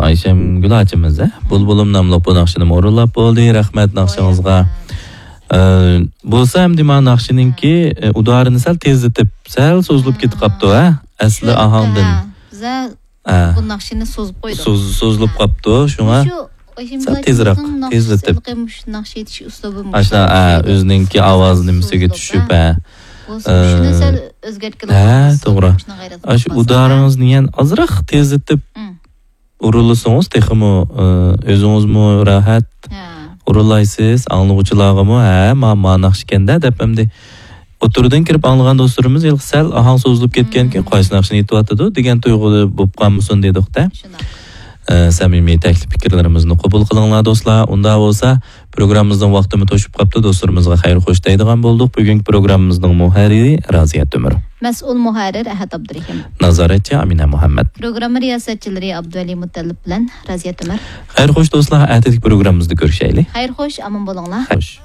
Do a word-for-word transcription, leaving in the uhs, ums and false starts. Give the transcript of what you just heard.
ئايشەمگۈل ئاچىمىز، ھە؟ بۇلبۇلۇم ناملىق بۇ ناخشىنىمۇ ئورۇنلاپ بولدى. رەھمەت ناخشىڭىزغا. ئە، بولسا ئەمدى مانا ناخشىنىڭكى، ئە، ئۇدارىنى سەل تېزلىتىپ، سەل سوزۇلۇپ كېتىپ قاپتۇ، ھە؟ ئەسلى ئاھاڭدىن. ھە، بىزە ھە. بۇ ناخشىنى سوزۇپ قويدۇق. سوز-، سوزۇلۇپ ھە. قاپتۇ، شۇڭا مۇشۇ ئايشەمگۈل سەل تېزراق، ئاچىمىزنىڭ ناخشىسى تېزلىتىپ. ھېلىقى مۇشۇ ناخشا ئېيتىش ئۇسلۇبى مۇشۇ. ئاشۇنداق، ھە، ئۆزىنىڭكى ئاۋاز نېمىسىگە سوزۇلۇپ، چۈشۈپ، ھە. ھە. بولسا مۇشۇنى ئە، سەل ئۆزگەرتكىلى ھە، بولمامسىز؟ توغرا. مۇشۇنى غەيرەت ئاشۇ قىلىپ باقساڭ. ئۇدارىڭىزنى يەنە ئازراق تېزلىتىپ، مم. ئورۇنلىسىڭىز تېخىمۇ، ئى، ئۆزىڭىزمۇ راھەت ھە. ئورۇنلايسىز، ئاڭلىغۇچىلارغىمۇ، ھە، ما، ما ناخشىكەندە دەپ ئەمدى ئوتتۇرىدىن كىرىپ ئاڭلىغان دوستلىرىمىز ھېلىقى سەل ئاھاڭ سوزۇلۇپ كەتكەنكىن، مم. قايسى ناخشىنى ئېيتىۋاتىدۇ دېگەن تۇيغۇ بولۇپ قالمىسۇن دېدۇقتە. شۇنداق. ئە، سەمىمىي تەكلىپ پىكىرلىرىمىزنى قوبۇل قىلىڭلار دوستلار. ئۇنداق بولسا پروگراممىمىزنىڭ ۋاقتىمۇ توشۇپ قاپتۇ، دوستلىرىمىزغا خەير خوش دەيدىغان بولدۇق. بۈگۈنكى پروگراممىمىزنىڭ مۇھەررىرى رازىيە تۆمۈر. مەسئۇل مۇھەررىر ئەھەت ئابدۇرېھىم. نازارەتچى ئامىنە مۇھەممەد. پروگرامما رىياسەتچىلىرى ئابدۇۋەلى مۇتەللىپ بىلەن رازىيە تۆمۈر. خەير خوش دوستلار، ئەتىدىكى پروگراممىمىزدا كۆرۈشەيلى. خەير خوش، ئامان بولۇڭلار. خوش.